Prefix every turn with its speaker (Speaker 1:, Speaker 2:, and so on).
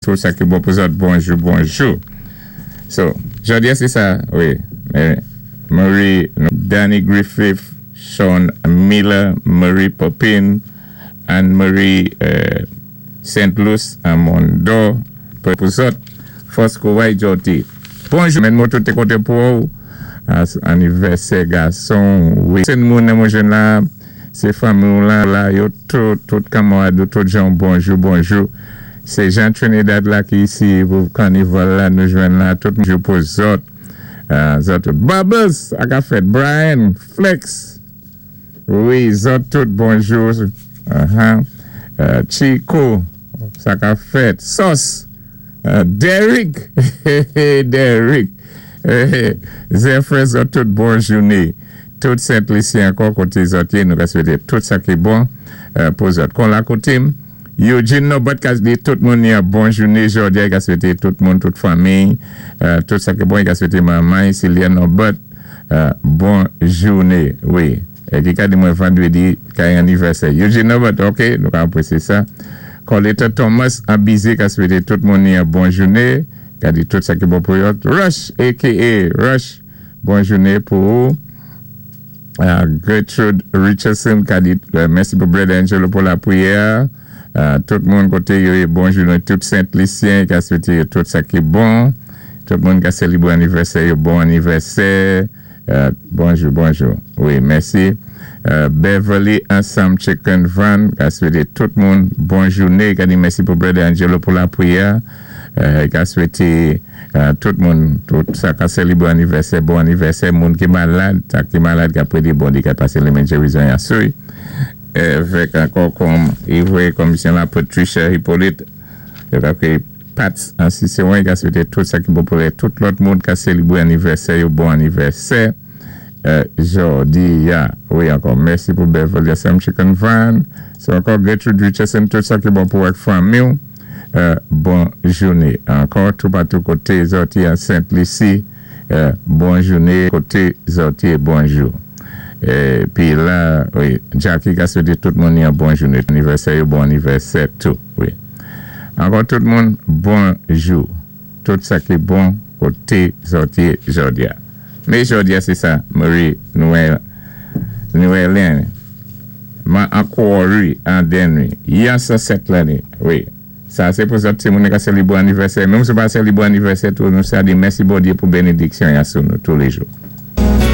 Speaker 1: Tout sa ki bon pou zòt, bonjou, bonjou. So, jòdi a sé sa, wi. Marie, Danny Griffith, Sean Miller, Marie Popin, Anne-Marie St. Louis, Amondo, pou zòt, fòs kouway jòdi. Bonjou, men mwen tout té koté pou ou. Anivèsè gason, wi. Sé moun nan mwen jwenn la, sé fanmi ou la, la yo tout, tout kanmarad ou, tout jan bonjou, bonjou. Sé Jean Trinidad la ki isi pou kanival la nou jwenn la, tout bonjou pou zòt. Zòt tout. Bubbles, ak a fèt. Brian, Flex, wi, zòt tout bonjou. Chico, sa ka fèt. Sos, Derrick, Derrick, Zephyr, zòt tout bon jouné. Tout Sent Lisi ankò koté zòt yé, nou ka swété tout sa ki bon pou zòt. Kon la koté m, Eugene Norbert ka di tout moun yon bon jouné jòdi a, i ka swété tout moun, tout fanmiy, tout sa ki bon, i ka swété manman Sylvia Norbert bon jouné, wi. Ki ka di mwen vandrédi ka yon anivèsè Eugene Norbert, ok, nou ka apresyé sa. Coletta Thomas an Bizé ka swété tout moun yon bon jouné, ka di tout sa ki bon pou yo. Rush aka Rush, bon jouné pou ou. Gertrude Richardson ka di mèsi pou Brother Angelo pou lapriyè. Tout moun koté yo yé, bon jouné. Tout Sent Lisyen ka swété yo tout sa ki bon. Tout moun ka sélébré anivèsè yo, bon anivèsè. Bonjou, bonjou. Wi, mèsi. Beverly ansanm Chicken Van ka swété tout moun bon jouné. Ka di mèsi pou Brother Angelo pou lapriyè. Ka swété tout moun, tout sa ka sélébré anivèsè, bon anivèsè. Moun ki malad, sa ki malad ka prédé Bondyé ka pasé lémen gérizon ya sou. Vèk ankò kòm i voyé komisyon la Patricia Hippolyte, yo ka kwé Pats an Ciceron, i ka swété tout sa ki bon pou lè tout lòt moun ka sélébré anivèsè yo, bon anivèsè jòdi ya. Wi, ankò mèsi pou Beverly ansanm Chicken Van. So ankò Gertrude Richardson, tout sa ki bon pou ak fanmi ou. Bon jouné. Ankò toupatou koté zòt yé an Sent Lisi, bon jouné koté zòt yé, bonjou. Pi la, wi, Jackie ka swété tout moun yon bon jouné. Anivèsè yo, bon anivèsè tou, wi. Ankò tout moun, bonjou. Tout sa ki bon koté zòt yé jòdi a. Mé jòdi a sé sa Marie Noël Noëlin man ankò wi anden wi yan 107 lanné wi. Sa sé pou zòt timoun ka sélébré anivèsè. Menm si ou pa sélébré anivèsè tou, nou sa di mèsi Bondyé pou bénédiksyon ya sou nou toulé jou.